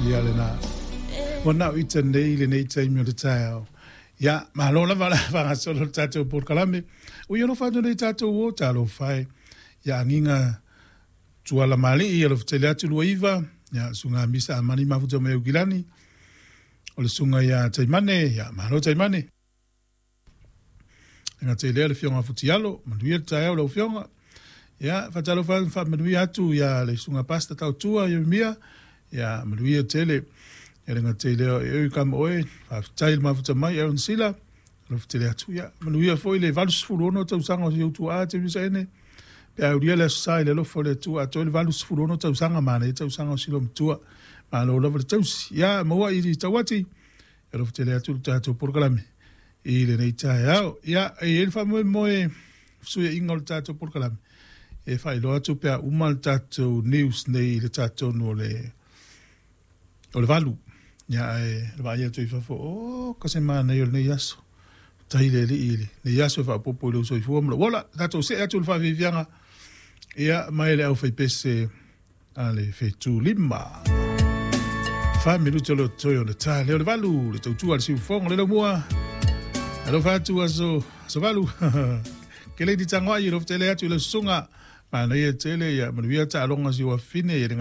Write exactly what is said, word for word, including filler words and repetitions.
Ia lena. Ua nao ita nei lenei taimi o le taeao. Ia, malo lava le faagasolo le tatou polokalame. Ua ia alofa atu nei tatou o talofa e. Ia agiga tuala malii alofa tele atu lua iva. Ia suga misa amani mafuta mai Aukilani. O le suga ia Taimane, ia malo Taimane. E gata i lea le Afioga Futialo, manuia le taeao lau Afioga. Ia, faatalofa atu faamanuia atu ia le susuga Pastor Tautua Ieremia, ia manuia tele. Ia le gata i lea o Eric Amoe, faafetai le mafuta mai Aaron Sila, alofa tele atu. Ia, manuia foi le valusefulu ono tausaga o si ou tuaa Teresa Ene. Pe aulia le aso Sa i le alofa o le Atua, atoa le valusefulu ono tausaga manaia tausaga o si loomatua. Malo lava le tausi. Ia, maua i tauati, alofa tele atu le tatou polokalame i lenei taeao. Ia, e i ai le faamoemoe fesuiaiga o le tatou polokalame, e faailoa atu pe a uma le tatou news nei i le tatonu o le o le valu. Ia, ae le vaai atu i fafo, o ka se manaia o lenei aso. Tai le alii i lenei aso e faaopoopo i lou soifua ma lou ola. Tatou see atu i le faafiafiaga, ia, mai le aufaipese a le Fetu Lima. Fa minuti o le toe o le ta leo le valu, le tautua le siufogo le laumua. Alofa atu aso, aso valu. Ke le di tangoai, alofa tele atu i le susuga. Manaia tele, ia manuia taaloga si uafine, ia le